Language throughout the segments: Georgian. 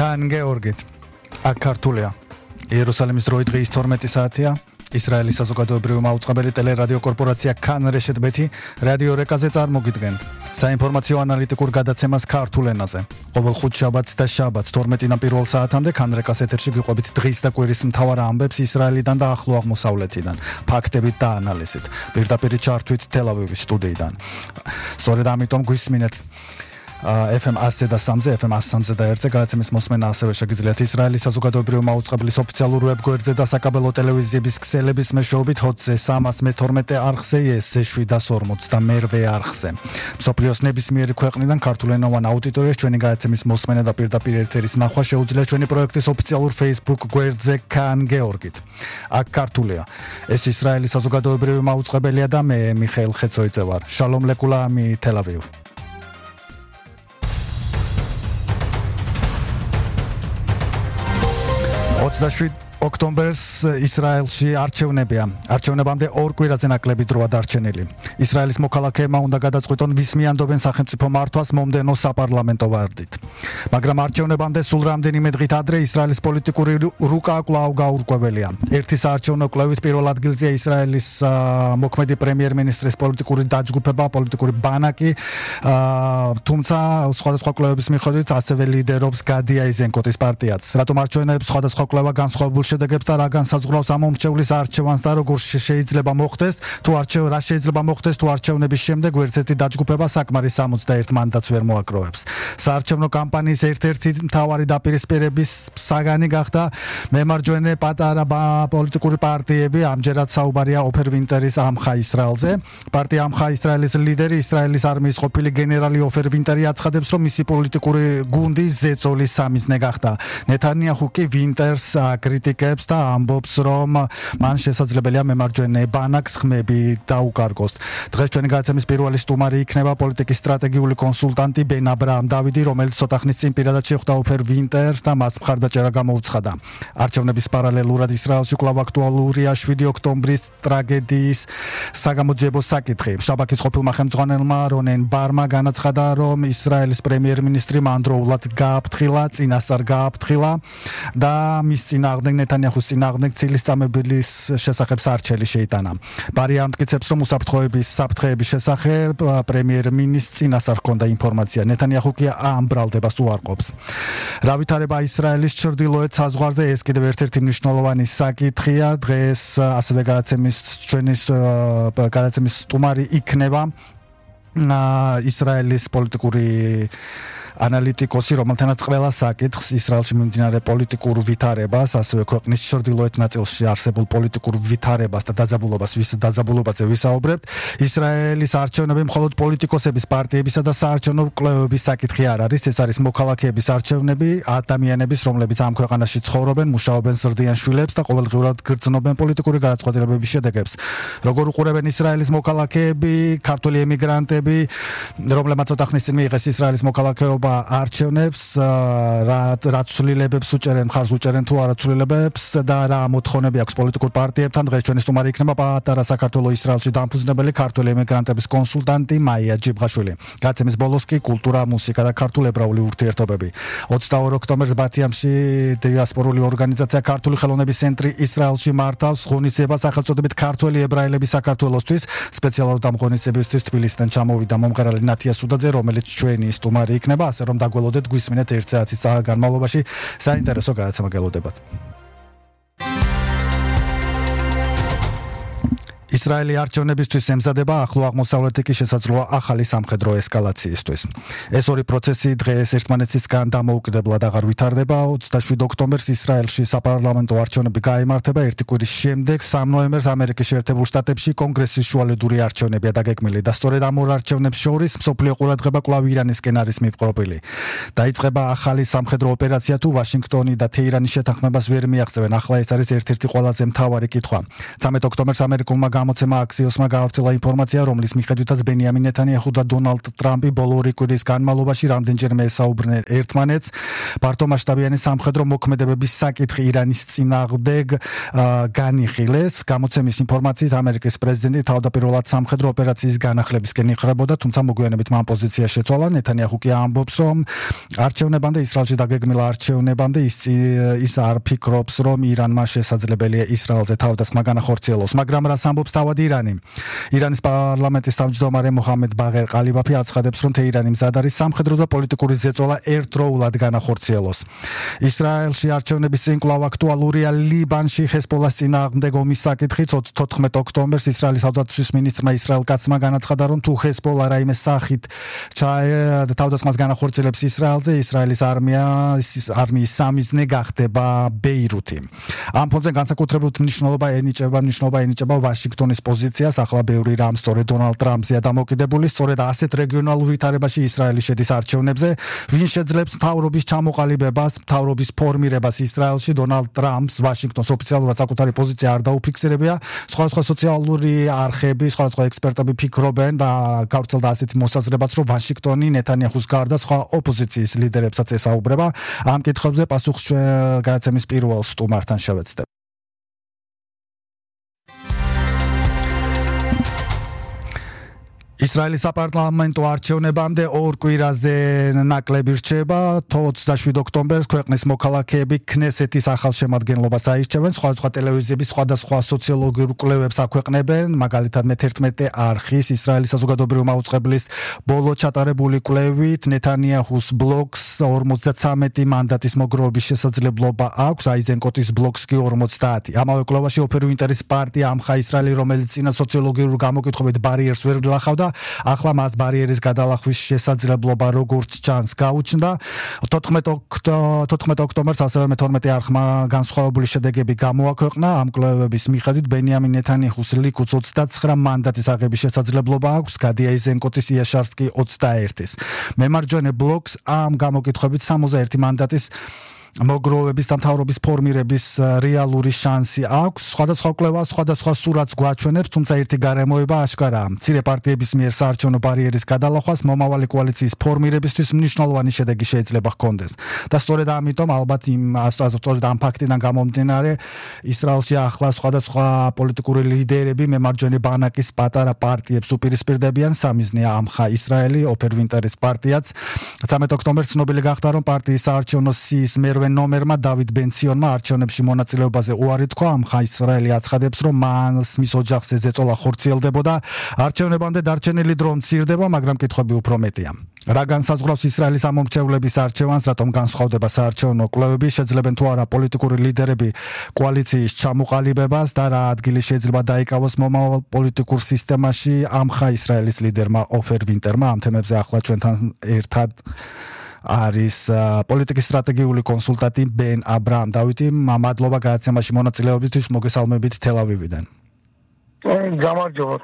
Khan Georgit, აქ ქართულია. იერუსალიმის დროით დღის 12 საათია. ისრაელის საზოგადოებრივი მაუწყებელი ტელერადიო კორპორაცია Khan Reshet-ბეთი რადიო რეკაზე წარმოგიდგენთ. საინფორმაციო ანალიტიკურ გადაცემას ქართულ ენაზე. ყოველ ხუთშაბათს და შაბათს 12-დან პირველ საათამდე Khan Rekas ეთერში გიყვებით დღის და კვირის მთავარ ამბებს ისრაელიდან და ახლო აღმოსავლეთიდან, ფაქტებით და ანალიზით. პირდაპირ ჩართვით თელ-ავივის სტუდიიდან. სწორედ ამიტომ გვისმინეთ FM 100 და 3-ზე, FM 103 და 1-ზე გადაცემის მოსმენა ასევე შეგიძლიათ ისრაელის საზოგადოებრივი მაუწყებლის ოფიციალურ ვებგვერდზე და საკაბელო ტელევიზიების ქსელების მეშვეობით ჰოტზე 312 არხზე, ES-ზე 740 და მერვე არხზე. მსოფლიოს ნებისმიერი ქვეყნიდან ქართულენოვან აუდიტორიას ჩვენი გადაცემის მოსმენა და პირდაპირ ეთერის ნახვა შეუძლია ჩვენი პროექტის ოფიციალურ Facebook გვერდზე Khan Georgit. აქ ქართულია. ეს ისრაელის საზოგადოებრივი მაუწყებელია და მე მიხეილ ხეცოიძე ვარ. შალომ ლეკულამი თელ-ავივ. 27 ოქტომბერს ისრაელში არჩევნებია. არჩევნებამდე ორ კვირაზე ნაკლები დროა დარჩენილი. ისრაელის მოქალაქეებმა უნდა გადაწყვიტონ ვის მიანდობენ სახელმწიფო მართვას მომდევნო საპარლამენტო ვარდით. მაგრამ არჩევნებამდე სულ რამდენიმე დღით ადრე ისრაელის პოლიტიკური რუკა კვლავ გაურკვეველია. ერთი საარჩევნო კვლევის პირველ ადგილზეა ისრაელის მოქმედი პრემიერ-მინისტრის პოლიტიკური დაჯგუფება, პოლიტიკური ბანაკი, თუმცა სხვადასხვა კვლევების მიხედვით ასევე ლიდერობს გადი აიზენკოტის პარტიაც. რატომ არჩევნებს სხვადასხვა კვლევა განსხვავებულ შედეგებს და რა განსაზღვრავს ამ მომრჩევლის არჩევანს და როგორ შეიძლება მოხდეს, თუ არჩევნების შემდეგ ვერცერთი დაჯგუფება საკმარის 61 მანდატს ვერ მოაგროვებს. საარჩევნო კამპანიის ერთ-ერთი მთავარი დაპირისპირების საგანი გახდა მემარჯვენე პატარა პოლიტიკური პარტიები, ამჯერად საუბარია ოფერ ვინტერის ამხა ისრაელზე. პარტია ამხა ისრაელის ლიდერი, ისრაელის არმიის ყოფილი გენერალი ოფერ ვინტერი აცხადებს, რომ მისი პოლიტიკური გუნდი ზეწოლის სამიზნე გახდა. ნეთანიაჰუ კი ვინტერს კრიტიკებს და ამბობს, რომ მან შესაძლებელია მემარჯვენე ბანაკს ხმები დაუკარგოს. დღეს ჩვენი გადაცემის პირველი სტუმარი იქნება პოლიტიკის სტრატეგიული კონსულტანტი ბენ აბრაამ დავიდი, რომელიც ცოტა ხნის წინ პირადად შეხვდა ოფერ ვინტერს და მას მხარდაჭერა გამოუცხადა. არჩევნების პარალელურად ისრაელში კვლავ აქტუალურია 7 ოქტომბრის ტრაგედიის საგამოძიებო საკითხი. შაბაქის ყოფილმა ხელმძღვანელმა რონენ ბარმა განაცხადა, რომ ისრაელის პრემიერ-მინისტრი მანდროულად გააფრთხილა, წინასწარ გააფრთხილა და მის წინააღმდეგ ნეთანიაჰუს წინააღმდეგ ცილისწამებლის შესახებ სარჩელი შეიტანა. ბარი ამტკიცებს, რომ საფრთხეების შესახებ პრემიერ-მინისტრს წინასწარ ჰქონდა ინფორმაცია. ნეთანიაჰუ კი ამ ბრალდებას უარყოფს. რა ვითარება ისრაელის ჩრდილოეთ საზღვარზე, ეს კიდევ ერთ-ერთი მნიშვნელოვანი საკითხია. დღეს ასევე გადაცემის სტუმარი იქნება ისრაელის პოლიტიკური ანალიტიკოსი, რომელთანაც ყველა საკითხს ისრაელში მიმდინარე პოლიტიკურ ვითარებას, ასევე ქვეყნის ჩრდილოეთ ნაწილში არსებულ პოლიტიკურ ვითარებას და დაძაბულობაზე ვისაუბრებთ. ისრაელის არჩევნები მხოლოდ პოლიტიკოსების, პარტიებისა და საარჩევნო კვლევების საკითხი არ არის. ეს არის მოქალაქეების არჩევნები, ადამიანების, რომლებიც ამ ქვეყანაში ცხოვრობენ, მუშაობენ, ზრდიან შვილებს და ყოველდღიურად გრძნობენ პოლიტიკური გადაწყვეტილებების შედეგებს. როგორ უყურებენ ისრაელის მოქალაქეები, ქართული ემიგრანტები, რომლებმაც ცოტა ხნის წინ მიიღეს ისრაელის მოქალაქეობა არჩევნებს, რა ცვლილებებს უჭერენ, მხარს უჭერენ თუ არა ცვლილებებს და რა მოთხოვნები აქვს პოლიტიკურ პარტიებთან. დღეს ჩვენი სტუმარი იქნება პატარა საქართველოს ისრაელში დამფუძნებელი ქართული ემიგრანტების კონსულტანტი მაია ჯიბღაშვილი. გადაცემის ბოლოს კი კულტურა, მუსიკა და ქართულ-ებრაული ურთიერთობები. 22 ოქტომბერს ბათიამში დიასპორული ორგანიზაცია ქართული ხელოვნების ცენტრი ისრაელში მართავს ღონისძიებას სახელწოდებით ქართველი ებრაელები საქართველოსთვის. სპეციალურად ამ ღონისძიებისთვის თბილისიდან ჩამოვიდა მომღერალი ნათია სუდაძე, რომელიც ჩვენი სტუმარი იქნება. ასე რომ დაგველოდეთ, გვისმინეთ 1 საათის განმავლობაში საინტერესო გადაცემა გელოდებათ. ისრაელი არჩევნებისთვის ემზადება, ახლო აღმოსავლეთი კი შესაძლოა ახალი სამხედრო ესკალაციისთვის. ეს ორი პროცესი დღეს ერთმანეთისგან დამოუკიდებლად აღარ ვითარდება. 27 ოქტომბერს ისრაელში საპარლამენტო არჩევნები გაიმართება, ერთი კვირის შემდეგ 3 ნოემბერს ამერიკის შეერთებულ შტატებში კონგრესის შუალედური არჩევნებია დაგეგმილი და სწორედ ამ ორ არჩევნებს შორის მსოფლიო ყურადღება კვლავ ირანისკენ არის მიპყრობილი. დაიწყება ახალი სამხედრო ოპერაცია, თუ ვაშინგტონი და თეირანის შეთანხმებას ვერ მიაღწევენ. ახლა ეს არის ერთ-ერთი ყველაზე მთავარი კითხვა. 13 ოქტომბერს ამერიკულმა გამოცემა Axios-მა გაავრცელა ინფორმაცია, რომლის მიხედვითაც ბენიამინ ნეთანიაჰუ და დონალდ ტრამპი ბოლო ორი კვირის განმავლობაში რამდენჯერმე ესაუბრნენ ერთმანეთს ფართომასშტაბიანი სამხედრო მოქმედებების საკითხი ირანის წინააღმდეგ განიხილეს. გამოცემის ინფორმაციით ამერიკის პრეზიდენტი თავდაპირველად სამხედრო ოპერაციის განახლებისკენ იხრებოდა, თუმცა მოგვიანებით მან პოზიცია შეცვალა. ნეთანიაჰუ კი ამბობს, რომ არჩევნებამდე ისრაელში დაგეგმილ არჩევნებამდე ის არ ფიქრობს, რომ ირანმა შესაძლებელია ისრაელზე თავდასხმა განახორციელოს, მაგრამ რას ამბობს თავად ირანი? ირანის პარლამენტის თავმჯდომარე მოჰამედ ბაღერ ყალიბაფი აცხადებს, რომ თეირანი მზად არის სამხედრო და პოლიტიკური ზეწოლა ერთდროულად განახორციელოს. ისრაელში არჩევნების წინ კვლავ აქტუალურია ლიბანში ჰეზბოლას წინააღმდეგ ომის საკითხიც. 14 ოქტომბერს ისრაელის თავდაცვის მინისტრმა ისრაელ კაცმა განაცხადა, რომ თუ ჰეზბოლა რაიმე სახით თავდასხმას განახორციელებს ისრაელზე, ისრაელის არმიის სამიზნე გახდება ბეირუთი. ამ ფონზე განსაკუთრებულ მნიშვნელობა ენიჭება ვაშინგტონის პოზიციას. ახლა ბევრი რამ სწორედ დონალდ ტრამპზეა დამოკიდებული. სწორედ ასეთ რეგიონალურ ვითარებაში ისრაელი შედის არჩევნებზე. ვინ შეძლებს მთავრობის ჩამოყალიბებას, მთავრობის ფორმირებას ისრაელში? დონალდ ტრამპს ვაშინგტონს ოფიციალურად საკუთარი პოზიცია არ დაუფიქსირებია. სხვადასხვა სოციალური არხები, სხვადასხვა ექსპერტები ფიქრობენ და გავრცელდა ასეთი მოსაზრებაც, რომ ვაშინგტონი ნეთანიაჰუს გარდა სხვა ოპოზიციის ლიდერებსაც ესაუბრება. ამ კითხვებზე პასუხს გადაცემის პირველ სტუმართან შევეცდებ. ისრაელის საპარლამენტო არჩევნებამდე ორ კვირაზე ნაკლები რჩება. 27 ოქტომბერს ქვეყნის მოქალაქეები ქნესეთის ახალ შემადგენლობას აირჩევენ. სხვადასხვა ტელევიზიები სხვადასხვა სოციოლოგიურ კვლევებს აქვეყნებენ. მაგალითად მე-11 არხის ისრაელის საზოგადოებრივი მაუწყებლის ბოლო ჩატარებული კვლევით ნეთანიაჰუს ბლოკს 53 მანდატის მოგროვების შესაძლებლობა აქვს, აიზენკოტის ბლოკს კი 50. ამავე კვლევაში ოფერუ ინტერის პარტია ამხა ისრაელი, რომელიც წინა სოციოლოგიურ გამოკითხვებით ბარიერს ვერ გლახავდა, ახლა მას ბარიერის გადალახვის შესაძლებლობა როგორც ჩანს გაუჩნდა. 14 ოქტომბერს ასევე მე-12 არხმა განსხვავებული შედეგები გამოაქვეყნა. ამ კვლევების მიხედვით ბენიამინ ნეთანიაჰუს ლიკუდს 29 მანდატის აღების შესაძლებლობა აქვს, გადი აიზენკოტის იაშარს კი 21-ის. მემარჯვენე ბლოკს ამ გამოკითხვებით 61 მანდატის მოგროვების და მთავრობის ფორმირების რეალური შანსი აქვს. სხვადასხვა კვლევა სხვადასხვა სურათს გვაჩვენებს, თუმცა ერთი გარემოება აშკარაა. მცირე პარტიების მიერ საარჩევნო ბარიერის გადალახვას მომავალი კოალიციის ფორმირებისთვის მნიშვნელოვანი შედეგი შეიძლება ჰქონდეს. და სწორედ ამიტომ ალბათ ამ ფაქტიდან გამომდინარე ისრაელში ახლა სხვადასხვა პოლიტიკური ლიდერები მემარჯვენე ბანაკის პატარა პარტიებს უპირისპირდებიან. სამიზნეა ამხა ისრაელი, ოფერუ ინტერის პარტიაც. 13 ოქტომბერს ცნობილი გახდა, რომ პარტიის საარჩევნო სიის მერვე ნომერმა დავიდ ბენციონმა არჩევნებში მონაწილეობაზე უარი თქვა. ამხა ისრაელი აცხადებს, რომ მის ოჯახზე ზეწოლა ხორციელდებოდა. არჩევნებამდე დარჩენილი დრო მცირდება, მაგრამ კითხვები უფრო მეტია. რა განსაზღვრავს ისრაელის ამომრჩევლების არჩევანს, რატომ განსხვავდება საარჩევნო კვლევები, შეძლებენ თუ არა პოლიტიკური ლიდერები კოალიციის ჩამოყალიბებას და რა ადგილი შეიძლება დაიკავოს მომავალ პოლიტიკურ სისტემაში ამხა ისრაელის ლიდერმა ოფერ ვინტერმა. ამ თემებზე ახლა ჩვენთან ერთად არის პოლიტიკის სტრატეგიული კონსულტანტი ბენ აბრაამ. დავითი, მადლობა გადაცემაში მონაწილეობისთვის, მოგესალმებით თელ-ავივიდან. გამარჯობა,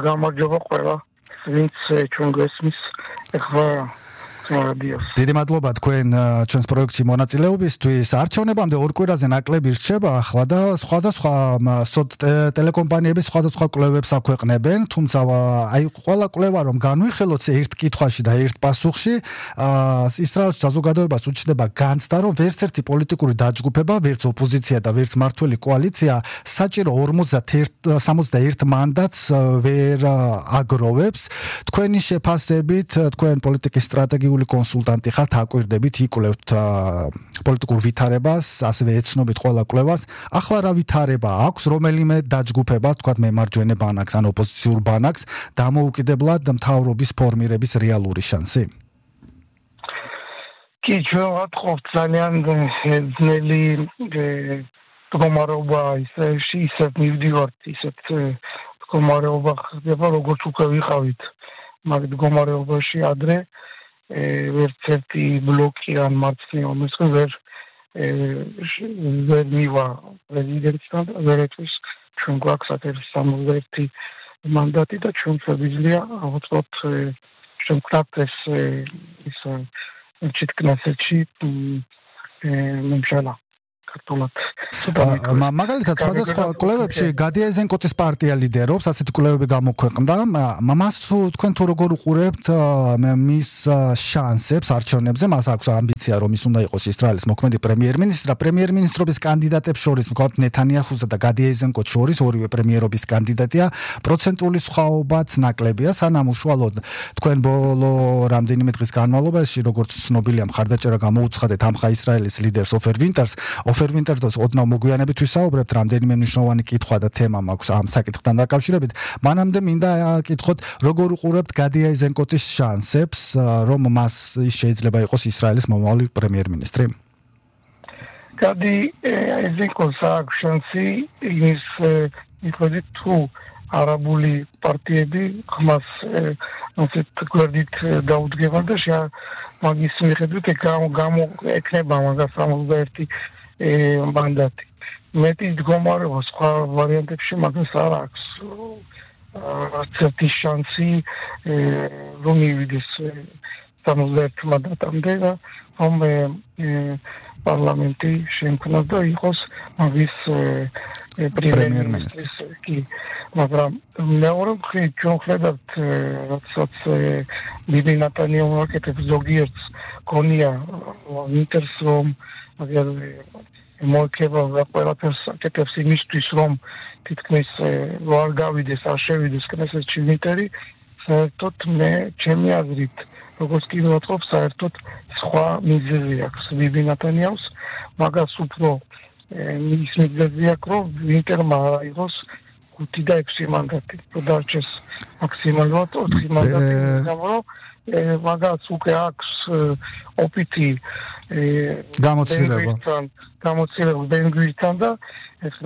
გამარჯობა ყველა, ვინც ჩვენ გვესმის ახლა რადიოს. დიდი მადლობა თქვენ ჩვენს პროექტში მონაწილეობისთვის. არჩევნებამდე ორ კვირაზე ნაკლები რჩება ახლა და სხვადასხვა ტელეკომპანიები სხვადასხვა კვლევებს აქვეყნებენ, თუმცა აი ყველა კვლევა რომ განვიხილოთ ერთ კითხვაში და ერთ პასუხში, ისრაელის საზოგადოებას უჩნდება განცდა, რომ ვერც ერთი პოლიტიკური დაჯგუფება, ვერც ოპოზიცია და ვერც მმართველი კოალიცია საჭირო 61 მანდატს ვერ აგროვებს. თქვენი შეფასებით, თქვენ პოლიტიკის სტრატეგიული კონსულტანტი ხართ, აკვირდებით, იკვლევთ პოლიტიკურ ვითარებას, ასევე ეცნობით ყველა კვლევას. ახლა რა ვითარება აქვს, რომელიმე დაჯგუფებას, თქვათ მემარჯვენე ბანაკს ან ოპოზიციურ ბანაკს, დამოუკიდებლად მთავრობის ფორმირების რეალური შანსი? კი, ჩვენ ვატყობთ ძალიან ძნელი მდგომარეობა ისრაელში, ისეთ მივდივართ, ისეთ მდგომარეობა ხდება, როგორც უკვე ვიყავით მაგ მდგომარეობაში ადრე. ვერც ერთი ბლოკი ან მარცხნივ მომსხენ ვერ მივა პრეზიდენტთან, ვერეთვის ჩვენ გვაქვს 61 მანდატი და ჩვენ შეგვიძლია ავუწყოთ შევქმნათ ეს ჩიტკნესეთში მომშალა. საქართველოს. მაგალითად სხვადასხვა კვლევებში გადი აიზენკოტის პარტია ლიდერობს, ასეთი კვლევები გამოქვეყნდა. მას თქვენ თუ როგორ უყურებთ მის შანსებს არჩევნებზე? მას აქვს ამბიცია, რომ ის უნდა იყოს ისრაელის მოქმედი პრემიერ-მინისტრი და პრემიერ-მინისტრობის კანდიდატებს შორის, ვთქვათ, ნეთანიაჰუსა და გადი აიზენკოტს შორის, ორივე პრემიერობის კანდიდატია, პროცენტული სხვაობაც ნაკლებია, სანამ უშუალოდ თქვენ ბოლო რამდენიმე დღის განმავლობაში, როგორც ცნობილია, მხარდაჭერა გამოუცხადეთ ამხა ისრაელის ლიდერს ოფერ ვინტერს. ოფერ ვინტერს ოდნავ მოგვიანებით ვისაუბრებთ, რამდენიმე მნიშვნელოვანი კითხვა და თემა მაქვს ამ საკითხთან დაკავშირებით. მანამდე მინდა კითხოთ, როგორ უყურებთ გადი აიზენკოტის შანსებს, რომ მას შეიძლება იყოს ისრაელის მომავალი პრემიერ-მინისტრი? გადი აიზენკოტს აქვს შანსი იმის მიხედვით, თუ არაბული პარტიები ხმას ასეთ გვერდით დაუდგებან და მაგის მიხედვით ექნება მაგას 61 მანდატი. მეტი მდგომარეობა სხვა ვარიანტებში მაგას არ აქვს არცერთი შანსი რომ მივიდეს 61 მანდატამდე და რომ პარლამენტი შექმნას და იყოს მაგის პრემიერ-მინისტრის კი მაგრამ მეორე მხრივ ჩვენ ვხედავთ როდესაც ბიბი ნეტანიაჰუ აკეთებს ზოგიერთს გონია ვინტერს რომ აგერ მოიქება ყველაფერს აკეთებს იმისთვის რომ თითქმის არ გავიდეს არ შევიდეს კნესეთში ვინტერი საერთოდ მე ჩემი აზრით როგორც კი ვთქვი საერთოდ სხვა მიზეზი აქვს ბიბი ნეტანიაჰუს მაგას უფრო ის მიზეზი აქვს რომ ვინტერმა აიღოს 5 და 6 მანდატი დარჩეს მაქსიმალურად 4 მანდატი გამო მაგას უკვე აქვს ოპიტი გამოცდილება ბენგვირთან და ეს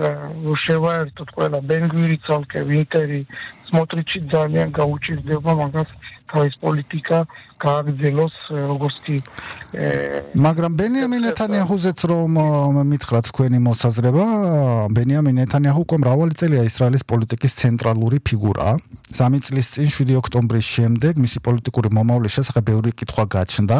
შევაერთოთ ყველა ბენგვირი ცალკე ვინტერი სმოტრიჩი ძალიან გაუჭირდება მაგას თავის პოლიტიკა გააგრძელოს როგორც კი მაგრამ ბენიამინ ნეთანიაჰუზეც რომ მითხრათ თქვენი მოსაზრება ბენიამინ ნეთანიაჰუ უკვე მრავალი წელია ისრაელის პოლიტიკის ცენტრალური ფიგურაა 3 წლის წინ 7 ოქტომბრის შემდეგ მისი პოლიტიკური მომავლის შესახებ ბევრი კითხვა გაჩნდა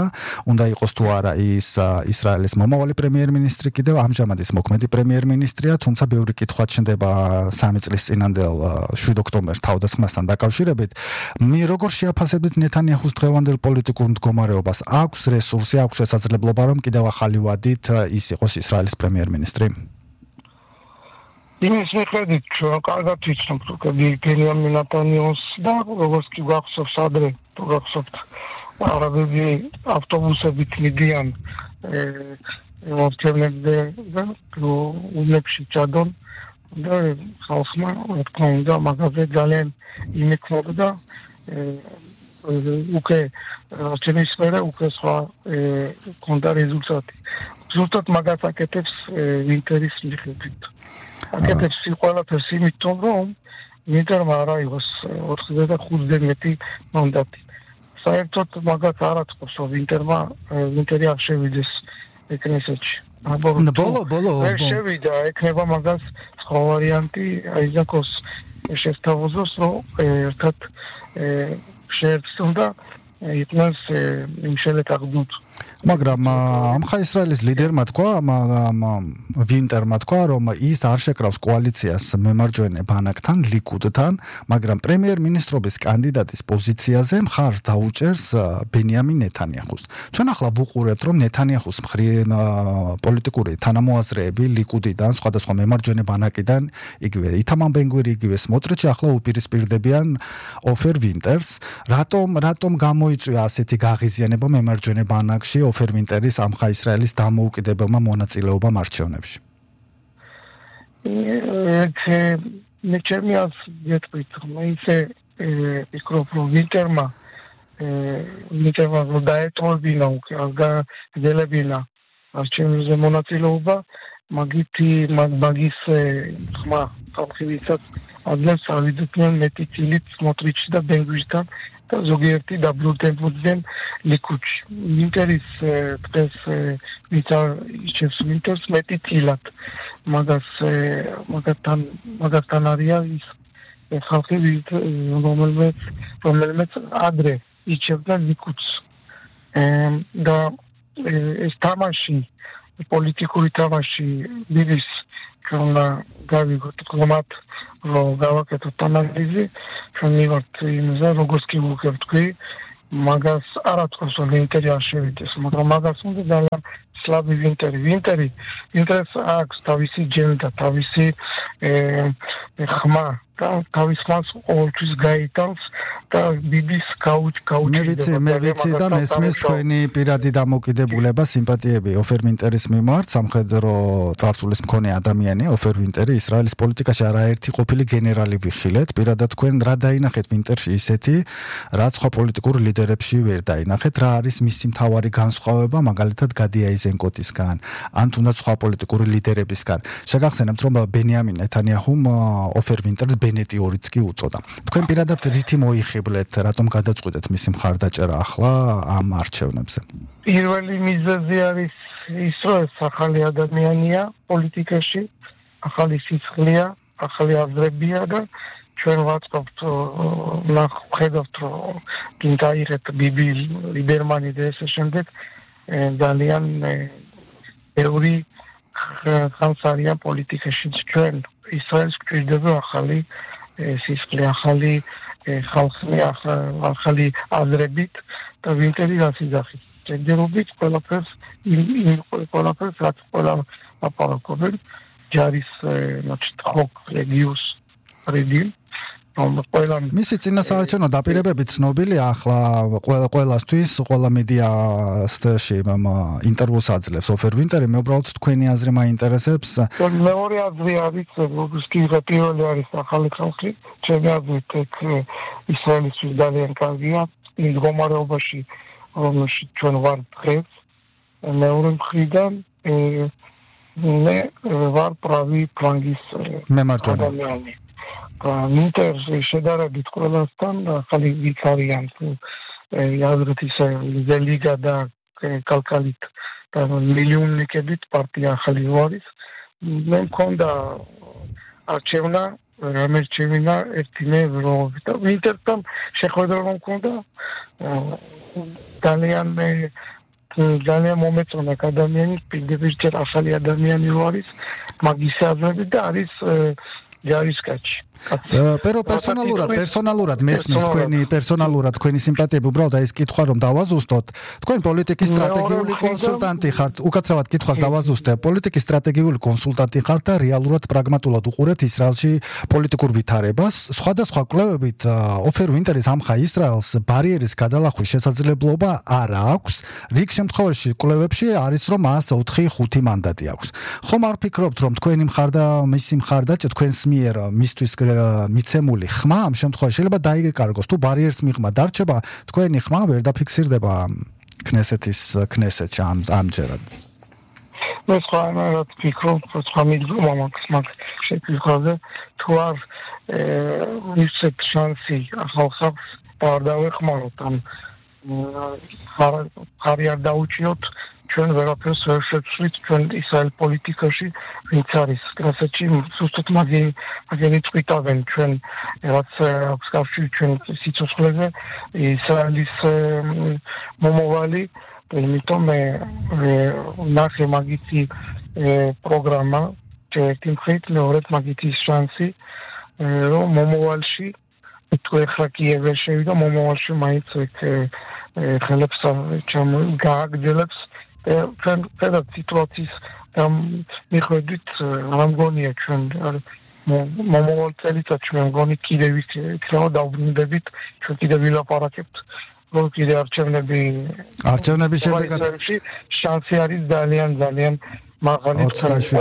უნდა იყოს თუ არა ის ისრაელის მომავალი პრემიერ-მინისტრი კიდევ ამჟამად ის მოქმედი პრემიერ-მინისტრია თუმცა ბევრი კითხვა ჩნდება 3 წლის წინანდელ 7 ოქტომბერს თავდასხმასთან დაკავშირებით მე როგორ შეაფასებთ ნეთანიაჰუს დღევანდელ პოლიტიკურ მდგომარეობას აქვს რესურსი აქვს შესაძლებლობა რომ კიდევ ახალი ვადით ის იყოს ისრაელის პრემიერ-მინისტრი იმის მიხედვით ჩვენ კარგად ვიცნობთ რომ ბენიამინ ნეტანიაჰუს და როგორც კი გახსოვს ადრე თუ გახსოვთ არაბები ავტობუსებით მიდიან მოვჩერნებზე და ულებში ჩადონ და ხალხმა თქმა უნდა მაგაზე ძალიან იმექნებოდა უკვე ჩემის მერე უკვე სხვა კონდა რეზულტატი. ზუსტად მაგას აკეთებს ვინტერის მიხედვით. აკეთებს ყველაფერს იმიტომ რომ ვინტერმა არ აიღოს 45-ზე მეტი მანდატი. საერთოდ მაგას არ აწყვეტს რომ ვინტერი არ შევიდეს კნესეთში. ბოლო შევიდა ექნება მაგას სხვა ვარიანტი აიზაკოს შესთავაზოს რომ ერთად შეერთონ და იყვნენ იმშელეთ აღდუთ მაგრამ ამხა ისრაელის ლიდერმა თქვა ვინტერმა თქვა რომ ის არ შეკრავს კოალიციას მემარჯვენე ბანაკთან ლიკუდთან მაგრამ პრემიერ-მინისტრობის კანდიდატის პოზიციაზე მხარს დაუჭერს ბენიამინ ნეთანიაჰუს ჩვენ ახლა ვუყურებთ რომ ნეთანიაჰუს პოლიტიკური თანამოაზრეები ლიკუდიდან სხვადასხვა მემარჯვენე ბანაკიდან იგივე ითამარ ბენ-გვირი იგივე სმოტრიჩი ახლა უპირისპირდებიან ოფერ ვინტერს რატომ გამოიწვია ასეთი გაღიზიანება მემარჯვენე ბანაკში ოფერ ვინტერის ამხა ისრაელის დამოუკიდებელმა მონაწილეობამ არჩევნებში. მე ჩემი აზრით ისე ვფიქრობ რომ ვინტერმა დაეტოვებინა უკვე აღგრძელებინა არჩევნებზე მონაწილეობა მაგის ხმა ხალხივისაც ადრეს ავიდნენ მეტი წილით სმოტრიჩი და ბენ-გვირთან და ზოგიერთი დაბრუნდნენ ლიკუდში. ვინტერის დღეს ვინტერს მეტი წილად მაგასთან არის ის ხალხი რომელმეც ადრე იჩევდა ლიკუდს და ეს თამაში პოლიტიკური თამაში ბიბის ჩვენ გავიგოთ ღმათ რომ გავაკეთოთ ანალიზი ჩვენ მივართ იმაზე როგორც კი ვუქებთ მაგას არ ათქოს რომ ინტერი არ შევიდეს მაგრამ მაგას უნდა ძალიან სლაბი ინტერეს აქვს თავისი ჯენდა თავისი ხმა და თავის ხმას ყოველთვის გაიტანს და ბიბის გაუჩნდება მე ვიცი და მესმის თქვენი პირადი დამოკიდებულება სიმპათიები ოფერ ვინტერის მიმართ სამხედრო წარსულის მქონე ადამიანი ოფერ ვინტერი ისრაელის პოლიტიკაში არაერთი ყოფილი გენერალი ვიხილეთ პირადად თქვენ რა დაინახეთ ვინტერში ისეთი რაც სხვა პოლიტიკურ ლიდერებში ვერ დაინახეთ რა არის მისი მთავარი განსხვავება მაგალითად გადი აიზენკოტისგან ან თუნდაც სხვა პოლიტიკური ლიდერებისგან შეგახსენებთ რომ ბენიამინ ნეთანიაჰუმ ოფერ ვინტერს ბენეტი ორიც კი უწოდა. თქვენ პირადად რითი მოიხიბლეთ, რატომ გადაწყვიტეთ მისი მხარდაჭერა ახლა ამ არჩევნებზე? პირველი მიზეზი არის ის, რომ ეს ახალი ადამიანია პოლიტიკაში, ახალი სისხლია, ახალი აზრებია და ჩვენ ვაწყობთ, ხედავთ, რომ გინდაიღეთ ბიბი ლიბერმანი და ესე შემდეგ ძალიან ბევრი ხანს არიან პოლიტიკაში ჩვენ ისრაელს გვჭირდება ახალი სისხლი, ახალი ხალხი, ახალი აზრებით და ვინტერი რასიზახით. ჯერჯერობით ყველაფერს რაც ყველა აპარაკობენ ჯარის ხოკ რეგიუს რეგიონ მისი წინასაარჩევნო დაპირებები ცნობილია ახლა ყველასთვის ყველა მედიასში ინტერვიუს აძლევს ოფერ ვინტერი მე უბრალოდ თქვენი აზრი მაინტერესებს მეორე აზრი არის როგორც კი პირველი არის ახალი ხალხი ჩემი აზრით ისრაელისთვის ძალიან კარგია იმ მდგომარეობაში რომელშიც ჩვენ ვართ დღეს მეორე მხრიდან მე ვარ правый ფლანგის ადამიანი ინტერს შედარებით ყველასთან ახალი ვიქარიან აზრით ისე ლიგა და კალკალით და მილიონნიკებით პარტია ახალი ვარის მე მქონდა არჩევნა რამერჩევინა ერთიმე ევროობით და ინტერსთან შეხვედრა მქონდა ძალიან მომეწონა ადამიანი პირდაპირ ახალი ადამიანი ვარის მაგის აზრები და არის ჯარისკაცი. პერსონალურად მესმის თქვენი სიმპათიები უბრალოდ ეს კითხვა რომ დავაზუსტოთ. თქვენ პოლიტიკის სტრატეგიული კონსულტანტი ხართ. უკაცრავად კითხვას დავაზუსტე. პოლიტიკის სტრატეგიული კონსულტანტი ხართ და რეალურად პრაგმატულად უყურებთ ისრაელში პოლიტიკურ ვითარებას. სხვადასხვა კვლევებით ოფერ ვინტერის ამხა ისრაელს ბარიერის გადალახვის შესაძლებლობა არ აქვს. რიგ შემთხვევაში კვლევებში არის რომ მას 4-5 მანდატი აქვს. ხომ არ ფიქრობთ რომ თქვენი მისი მხარდაჭერა თქვენს მიერ მისთვის მიცემული ხმა ამ შემთხვევაში შეიძლება დაიკარგოს თუ ბარიერს მიღმა დარჩება თქვენი ხმა ვერ დაფიქსირდება ქნესეთში ამჯერად მე სხვანაირად ვფიქრობ სხვა მიდგომა მაგ შეფიქრაზე თუ არ მისცეთ შანსი ახალ ხალხს და არ დავეხმაროთ ან ხარი არ დაუჭიოთ ჩვენ ვერაფერს ვერ შევცვლით ჩვენ ისრაელ პოლიტიკაში ვინც არის კრასეთში ზუსტად მაგენი წვითავენ ჩვენ რაც აქვს კავშირი ჩვენ სიცოცხლეზე ისრაელის მომავალი იმიტომ მე ნახე მაგითი პროგრამა ერთი მხრივ მეორედ მაგითი შანსი რომ მომავალში თუ ეხლა კიევი შევიდა მომავალში მაინც ხელებს გააგრძელებს ჩვენ ფედერალ სიტუაციის მიხედვით არ მგონია ჩვენ მომავალ წელიწადში მე მგონი კიდევ იქნება დავბრუნდებით ჩვენ კიდევ ვილაპარაკებთ რომ კიდევ არჩევნები შემდეგაც შანსი არის ძალიან მაღალი 27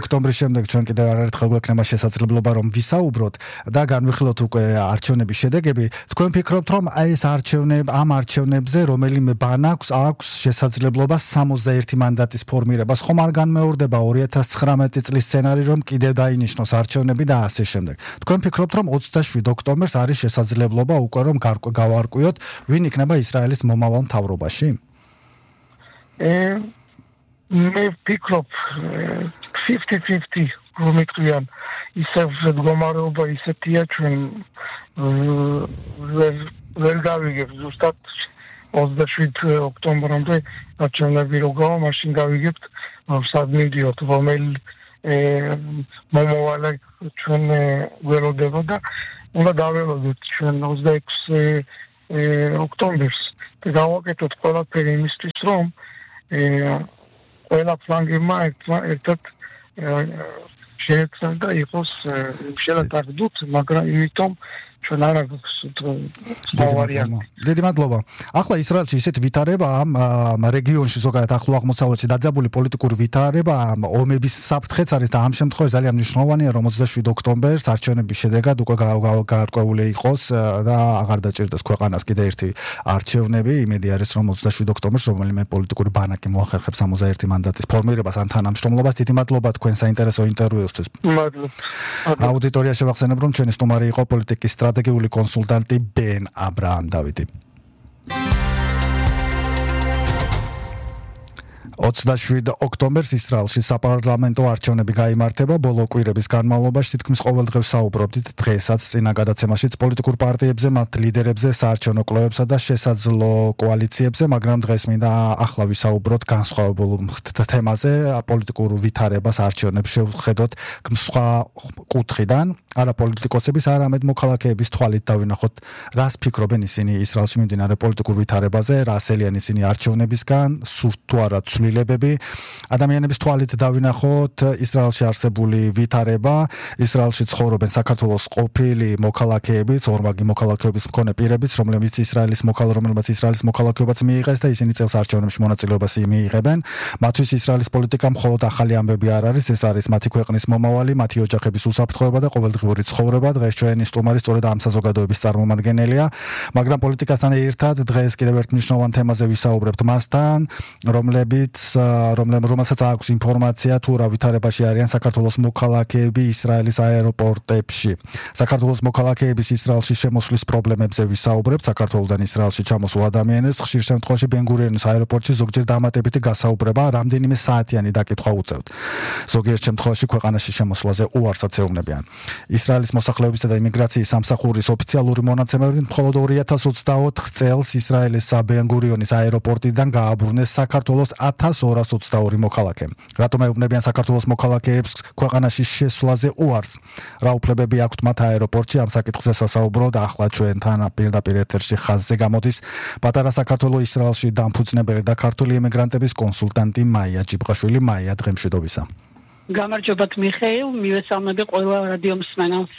ოქტომბრის შემდეგ ჩვენ კიდევ არაერთხელ გვექნება შესაძლებლობა რომ ვისაუბროთ და განვიხილოთ უკვე არჩევნების შედეგები. თქვენ ფიქრობთ რომ ეს ამ არჩევნებზე რომელიმე ბანაკს აქვს შესაძლებლობა 61 მანდატის ფორმირებას ხომ არ განმეორდება 2019 წლის სცენარი რომ კიდევ დაინიშნოს არჩევნები და ასე შემდეგ. თქვენ ფიქრობთ რომ 27 ოქტომბერს არის შესაძლებლობა უკვე რომ გავარკვიოთ ვინ იქნება ისრაელის მომავალ მთავრობაში? მე ვფიქრობ 50-50 რომ იტყვიან ისევ მდგომარეობა ისეთია ჩვენ ვერ გავიგებ ზუსტად 27 ოქტომბრამდე არჩევნები რო გავა, მაშინ გავიგებთ სად მივდიოთ, რომელი მომავალ ჩვენ ველოდება და უნდა დაველოდოთ ჩვენ 26 ოქტომბერს და გავაკეთოთ ყველაფერი იმისთვის, რომ ყველა ფლანგებმა ერთად შეეცვალა და იყოს შელათარდუთ, მაგრამ იმიტომ ჩვენ არ აქვს ვარიანტი. დიდი მადლობა. ახლა ისრაელში ისეთ ვითარება ამ რეგიონში ზოგადად ახლო აღმოსავლეთში დაძაბული პოლიტიკური ვითარება ომების საფრთხეც არის და ამ შემთხვევაში ძალიან მნიშვნელოვანია რომ 27 ოქტომბერს არჩევნების შედეგად უკვე გაარკვეული იყოს და აღარ დაჭირდეს ქვეყანას კიდე ერთი არჩევნები. იმედი არის რომ 27 ოქტომბერს რომელიმე პოლიტიკური ბანაკი მოახერხებს 61 მანდატის ფორმირებას ან თანამშრომლობას. დიდი მადლობა თქვენ საინტერესო ინტერვიუსთვის. მადლობა. აუდიტორია შევახსენებ რომ ჩვენი სტუმარი იყო პოლიტიკის სტრატეგიული კონსულტანტი ბენ აბრაამ დავიდი. 27 ოქტომბერს ისრაელში საპარლამენტო არჩევნები გაიმართება. ბოლო კვირების განმავლობაში თითქმის ყოველდღე საუბრობდით დღესაც წინა გადაცემაშიც პოლიტიკურ პარტიებზე, მათ ლიდერებზე, საარჩევნო კვლევებსა და შესაძლო კოალიციებზე, მაგრამ დღეს მინდა ახლა ვისაუბროთ განსხვავებულ თემაზე, პოლიტიკურ ვითარებას არჩევნებს შევხედოთ სხვა კუთხიდან. არა პოლიტიკოსების, არამედ მოქალაქეების თვალით დავინახოთ, რას ფიქრობენ ისინი ისრაელში მიმდინარე პოლიტიკურ ვითარებაზე, რა ასელიან ისინი არჩევნებისგან, სურთ თუ არა ცვლილებები. ადამიანების თვალით დავინახოთ ისრაელში არსებული ვითარება, ისრაელში ცხოვრობენ საქართველოს ყოფილი მოქალაქეებიც, ორმაგი მოქალაქეობის მქონე პირებიც, რომლებიც ისრაელის მოქალაქეობაც მიიღეს და ისინი წელს არჩევნებში მონაწილეობას მიიღებენ. მათთვის ისრაელის პოლიტიკა მხოლოდ ახალი ამბები არ არის, ეს არის მათი ქვეყნის მომავალი, მათი ოჯახების უსაფრთხოება და ყოველდღიური ცხოვრება. დღეს ჩვენი სტუმარი სწორედ ამ საზოგადოების წარმომადგენელია, მაგრამ პოლიტიკასთან ერთად დღეს კიდევ ერთ მნიშვნელოვან თემაზე ვისაუბრებთ მასთან, რომელსაც აქვს ინფორმაცია თუ რა ვითარებაში არიან საქართველოს მოქალაქეები ისრაელის აეროპორტებში. საქართველოს მოქალაქეების ისრაელში შემოსვლის პრობლემებზე ვისაუბრებთ. საქართველოდან ისრაელში ჩამოსულ ადამიანებს ხშირ შემთხვევაში ბენ-გურიონის აეროპორტში ზოგჯერ დამატებითი გასაუბრება, რამდენიმე საათიანი დაკითხვა უწევთ. ზოგიერთ შემთხვევაში ქვეყანაში შემოსვლაზე უარსაც ეუბნებიან. ისრაელის მოსახლეობისა და იმიგრაციის სამსახურის ოფიციალური მონაცემებით მხოლოდ 2024 წელს ისრაელის ბენ-გურიონის აეროპორტიდან გააბრუნეს საქართველოს 1222 მოქალაქე. რატომ ეუბნებიან საქართველოს მოქალაქეებს ქვეყანაში შესვლაზე უარს? რა უფლებები აქვთ მათ აეროპორტში? ამ საკითხზე სასაუბროდ ახლა ჩვენთან პირდაპირ ეთერში ხაზზე გამოდის პატარა საქართველო ისრაელში დამფუძნებელი და ქართული ემიგრანტების კონსულტანტი მაია ჯიბღაშვილი. მაია, დღემშვიდობისა. გამარჯობათ მიხეილ, მივესალმები ყველა რადიო მსმენელს.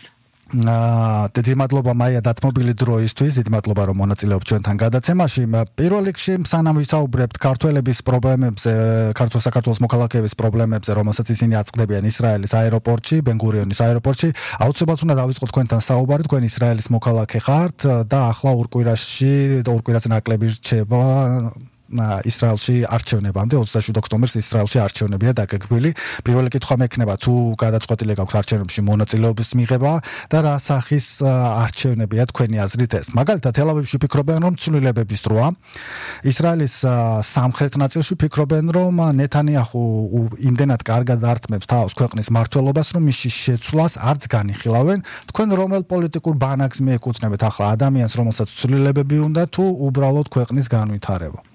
დიდი მადლობა მაია დათმობილი დროისთვის, დიდი მადლობა რომ მონაწილეობთ ჩვენთან გადაცემაში. პირველ რიგში სანამ ვისაუბრებთ ქართველების პრობლემებზე, საქართველოს მოქალაქეების პრობლემებზე, რომელსაც ისინი აწყდებიან ისრაელის აეროპორტში, ბენ-გურიონის აეროპორტში, აუცილებლად უნდა დავიწყოთ თქვენთან საუბარი. თქვენ ისრაელის მოქალაქე ხართ და ახლა ორ კვირაზე ნაკლები რჩება ისრაელში არჩევნებამდე. 27 ოქტომბერს ისრაელში არჩევნებია დაგეგმილი. პირველი კითხვა მექნება, თუ გადაწყვეტილი გაქვთ არჩევნებში მონაწილეობის მიღება და რა სახის არჩევნებია თქვენი აზრით ეს? მაგალითად, თელ-ავივში ფიქრობენ, რომ ცვლილებების დროა. ისრაელის სამხრეთ ნაწილში ფიქრობენ, რომ ნეთანიაჰუ იმდენად კარგად ართმევს თავს ქვეყნის მმართველობას, რომ მის შეცვლას არც განიხილავენ. თქვენ რომელ პოლიტიკურ ბანაკს მიეკუთვნებთ ახლა, ადამიანს, რომელსაც ცვლილებები უნდა თუ უბრალოდ ქვეყნის განვითარება?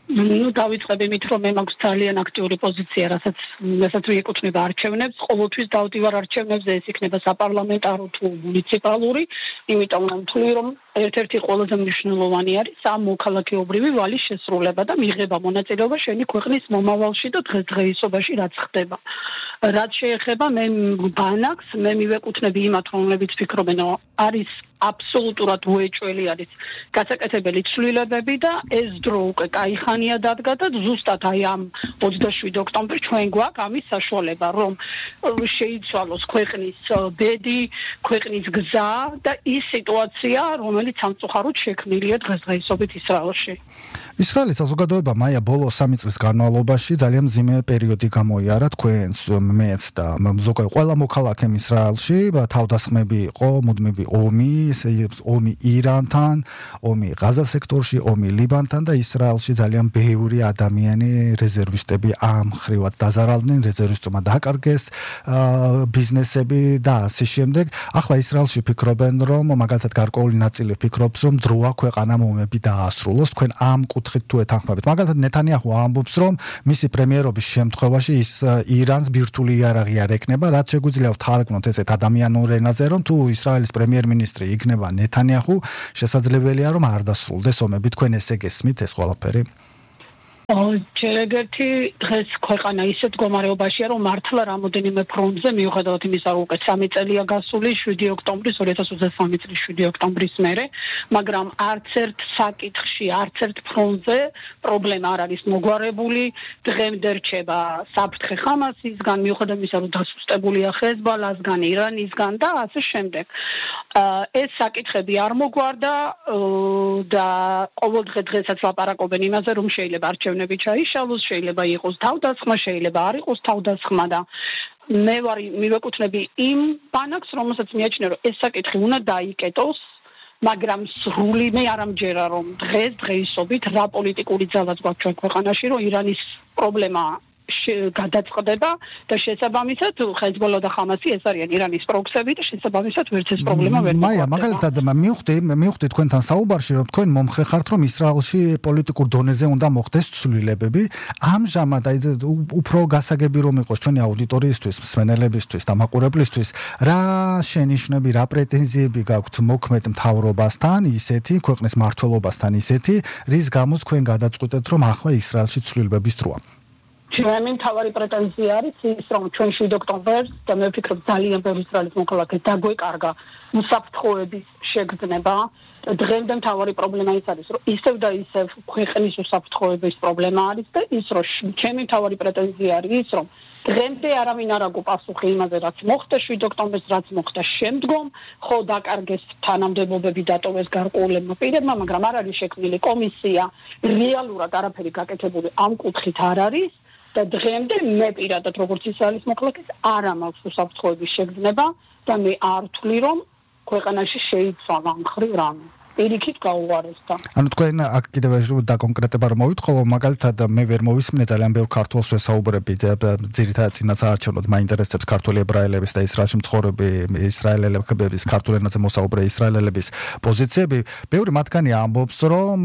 დავიწყებ იმით, რომ მე მაქვს ძალიან აქტიური პოზიცია, რასაც მიეკუთვნება არჩევნებს. ყოველთვის დავდივარ არჩევნებზე, ეს იქნება საპარლამენტარო თუ მუნიციპალური, იმიტომ ვთვლი, რომ ერთ-ერთი ყველაზე მნიშვნელოვანი არის ამ მოქალაქეობრივი ვალის შესრულება და მიღება მონაწილეობა შენი ქვეყნის მომავალში და დღესდღეობაში რაც ხდება. რაც შეეხება მე ბანაკს, მე მივეკუთვნები იმათ, რომლებიც ფიქრობენ, რომ არის აბსოლუტურად უეჭველი არის გასაკეთებელი ცვლილებები და ეს დრო უკვე კაიხანია დადგა და ზუსტად აი ამ 27 ოქტომბერს ჩვენ გვაქვს ამის საშუალება, რომ შეიცვალოს ქვეყნის ბედი, ქვეყნის გზა და ის სიტუაცია, რომელიც სამწუხაროდ შექმნილია დღესდღეობით ისრაელში. ისრაელის საზოგადოება მაია ბოლო 3 წლის განმავლობაში ძალიან მძიმე პერიოდი გამოიარა თქვენს, მეც და ზოგადად ყველა მოქალაქემ ისრაელში, თავდასხმები იყო, მუდმივი ომი, ომი ირანთან, ომი ღაზა სექტორში, ომი ლიბანთან და ისრაელში ძალიან ბევრი ადამიანი რეზერვისტები ამ ხრივად დაზარალდნენ, რეზერვისტებმა დააკარგეს ბიზნესები და ასე შემდეგ. ახლა ისრაელში ფიქრობენ, რომ მაგალითად გარკვეული ნაწილი ფიქრობს, რომ დროა ქვეყანამ ომები დაასრულოს. თქვენ ამ კუთხით თუ ეთანხმებით. მაგალითად ნეთანიაჰუ ამბობს, რომ მისი პრემიერობის შემთხვევაში ის ირანს ბირთვული იარაღი არ ეკნება, რაც შეგვიძლია ვთარგმნოთ ესეთ ადამიანურ ენაზე, რომ თუ ისრაელის პრემიერ-მინისტრი იქნება ნეთანიაჰუ, შესაძლებელია რომ არ დასრულდეს ომები. თქვენ ესე გესმით ეს ყველაფერი? ჯერეგერთი დღეს ქვეყანა ისეთ მდგომარეობაშია, რომ მართლა რამოდენიმე ფრონტზე მიუხედავად იმისა, რომ უკვე 3 წელია გასული 7 ოქტომბრის 2023 წლის 7 ოქტომბრის მერე, მაგრამ არც ერთ საკითხში, არც ერთ ფრონტზე პრობლემა არ არის მოგვარებული. დღემდე რჩება საფრთხე ხამასისგან, მიუხედავად იმისა, რომ დასუსტებულია ჰეზბალასგან, ირანისგან და ასე შემდეგ. ეს საკითხები არ მოგვარდა და ყოველდღე დღესაც ლაპარაკობენ იმაზე, რომ შეიძლება არჩევნები ჩაიშალოს, შეიძლება იყოს თავდასხმა, შეიძლება არ იყოს თავდასხმა და მე მივეკუთვნები იმ ბანაკს, რომელსაც მიაჩნია, რომ ეს საკითხი უნდა დაიკეტოს, მაგრამ სრული მე არ ამჯერა, რომ დღეისობით რა პოლიტიკური ძალაც გვაქვს ჩვენ ქვეყანაში, რომ ირანის პრობლემა გადაწყდება და შესაბამისად ჰეზბოლა და ხამასი ეს არიან ირანის პროქსები და შესაბამისად ვერც ეს პრობლემა ვერ მოგვარდება. მაია, მაგალითად მივხვდი თქვენთან საუბარში, რომ თქვენ მომხრე ხართ, რომ ისრაელში პოლიტიკურ დონეზე უნდა მოხდეს ცვლილებები. ამჟამად უფრო გასაგები რომ იყოს ჩვენი აუდიტორიისთვის, მსმენელებისთვის და მაყურებლისთვის, რა შენიშვნები, რა პრეტენზიები გაქვთ მოქმედ მთავრობასთან, ისეთი ქვეყნის მმართველობასთან ისეთი, რის გამოც თქვენ გადაწყვეტეთ, რომ ახლა ისრაელში ცვლილებების დროა. ჩემი მთავარი პრეტენზია არის ის, რომ ჩვენ 7 ოქტომბერს და მე ვფიქრობ ძალიან ბევრი ისრაელის მოქალაქე დაგვეკარგა უსაფრთხოების შეგრძნება. დღემდე მთავარი პრობლემა ის არის, რომ ისევ და ისევ ქვეყნის უსაფრთხოების პრობლემა არის და ის, რომ ჩემი მთავარი პრეტენზია არის ის, რომ დღემდე არავინ არ აგო პასუხი იმაზე, რაც მოხდა 7 ოქტომბერს, რაც მოხდა შემდგომ, ხო დაკარგეს თანამდებობები, დატოვეს გარკვეულებმა პირებმა, მაგრამ არ არის შექმნილი კომისია, რეალურად არაფერი გაკეთებული ამ კუთხით არ არის. და დღემდე მე პირადად როგორც ისრაელის მოქალაქეს არ მაქვს უსაფრთხოების შეგრძნება და მე არ ვთვლი რომ ქვეყანაში შეიცვალა ამ ხრივ რამე. პირიქით გაუვარესდა. ანუ თქვენ აქ კიდევ დაკონკრეტება რომ მოვიტყო, მაგალითად მე ვერ მოვისმინე ძალიან ბევრ ქართველს ვესაუბრები, ძირითადად წინასაარჩევნოდ მაინტერესებს ქართველი ებრაელების და ისრაელში მცხოვრები ისრაელელების ქართულ ენაზე მოსაუბრე ისრაელელების პოზიციები. ბევრი მათგანი ამბობს, რომ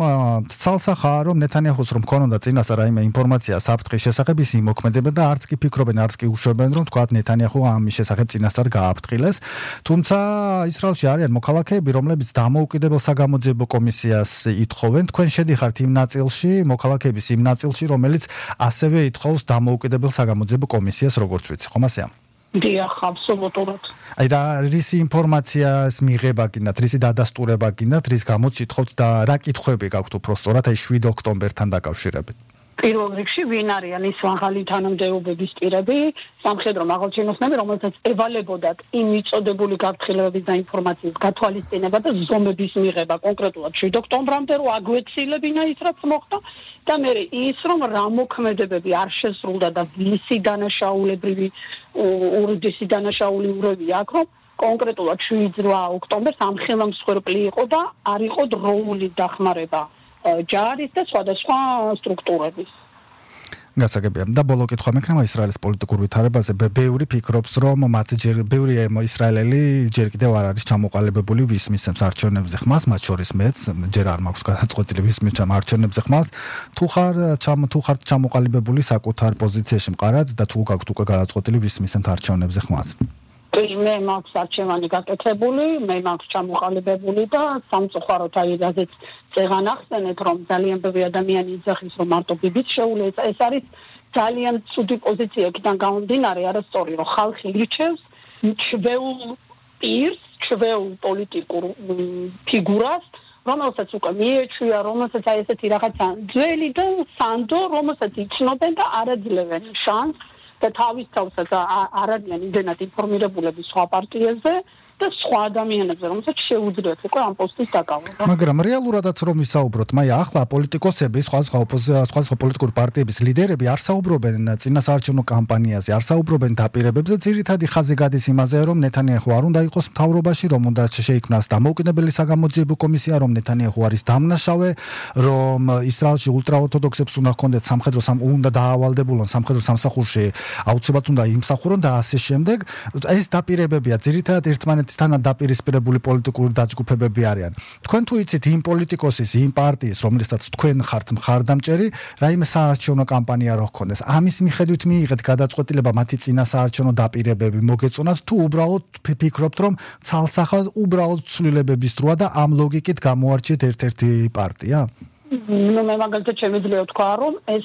ცალსახაა, რომ ნეთანიაჰუს რომ ქონოდა წინასწარ რაიმე ინფორმაცია საფრთხის შესახებ, ის იმოქმედებდა და არც კი ფიქრობენ, არც კი უშვებენ, რომ თქვა ნეთანიაჰუ ამის შესახებ წინასწარ გააფრთხილეს. თუმცა ისრაელში არიან მოქალაქეები, რომლებიც დამოუკიდებელ გამოძიებო კომისიას ითხოვენ. თქვენ შედიხართ იმ ნაწილში, მოქალაქეების იმ ნაწილში, რომელიც ასევე ითხოვს დამოუკიდებელ საგამოძიებო კომისიას, როგორც ვიცი, ხომ ასეა? დიახ, აბსოლუტურად. აი და რისი ინფორმაციას მიღება გინდათ, რისი დადასტურება გინდათ, რის გამოც ითხოვთ და რა კითხვები გაქვთ უფრო სწორად აი 7 ოქტომბერთან დაკავშირებით? პირველ რიგში ვინ არიან ის მაღალი თანამდებობების პირები, სამხედრო მაღალჩინოსნები, რომელსაც ევალებოდათ იმ მიწოდებული გაფრთხილებების და ინფორმაციის გათვალისწინება და ზომების მიღება კონკრეტულად 7 ოქტომბრამდე, რომ აგვეცილებინა ის რაც მოხდა და მე ის რომ რა მოქმედებები არ შესრულდა და ვისი დანაშაულებრივი ურიდისი დანაშაული ურევი აქვს, რომ კონკრეტულად 7 ოქტომბერს ამ ხელმსხვერპლი იყო და არ იყო დროული დახმარება ჯარის და სხვადასხვა სტრუქტურების. გასაგებია. და ბოლო კითხვა მექნება ისრაელის პოლიტიკურ ვითარებაზე. ბევრი ფიქრობს, რომ ბევრი ისრაელელი ჯერ კიდევ არ არის ჩამოყალიბებული ვის მისცემს არჩევნებზე ხმას, მათ შორის მეც, ჯერ არ მაქვს გადაწყვეტილი ვის მისცემს არჩევნებზე ხმას. თუ ხარ ჩამოყალიბებული საკუთარ პოზიციაში მყარად და თუ გაქვთ უკვე გადაწყვეტილი ვის მისცემს არჩევნებზე ხმას. მე მაქვს არჩევანი გაკეთებული, მე მაქვს ჩამოყალიბებული და სამწუხაროდ აი რაზეც წეღან ახსენეთ, რომ ძალიან ბევრი ადამიანი იძახის, რომ მარტო ბიბიც შეუძლია. ეს არის ძალიან ცუდი პოზიცია, იქიდან გამომდინარე, არასწორი, რომ ხალხი ირჩევს ჩვეულ პირს, ჩვეულ პოლიტიკურ ფიგურას, რომელსაც უკვე მიეჩვია, რომელსაც აი ესეთი რაღაცა ძველი და სანდო, რომელსაც იცნობენ და არ აძლევენ შანსს და თავის თავსაც არ არიან იმდენად ინფორმირებულები სხვა პარტიებზე და სხვა ადამიანებზე, რომელსაც შეუძლიათ უკვე ამ პოსტის დაკავება. მაგრამ რეალურადაც რომ ვისაუბროთ, ახლა პოლიტიკოსები, სხვა პოლიტიკური პარტიების ლიდერები არ საუბრობენ წინასაარჩევნო კამპანიაზე, არ საუბრობენ დაპირებებზე, ძირითადი ხაზი გადის იმაზე, რომ ნეთანიაჰუ არ უნდა იყოს მთავრობაში, რომ უნდა შეიქმნას დამოუკიდებელი საგამოძიებო კომისია, რომ ნეთანიაჰუ არის დამნაშავე, რომ ისრაელში ულტრაორთოდოქსებს უნდა ჰქონდეთ უნდა დაავალდებულონ სამხედრო სამსახურში, აუცილებლად უნდა იმსახურონ და ასე შემდეგ. ეს დაპირებებია ძირითადად ერთმანეთთან დაპირისპირებული პოლიტიკური დაჯგუფებები არიან. თქვენ თუ იცით იმ პოლიტიკოსის, იმ პარტიის, რომელსაც თქვენ ხართ მხარდამჭერი, რაიმე საარჩევნო კამპანია რო ჰქონდეს, ამის მიხედვით მიიღეთ გადაწყვეტილება მათი წინასაარჩევნო დაპირებები მოგეწონათ თუ უბრალოდ ფიქრობთ, რომ ცალსახად უბრალოდ ცვლილებების დროა და ამ ლოგიკით გამოარჩიეთ ერთ-ერთი პარტია? მე მაგალითად შემიძლია ვთქვა, რომ ეს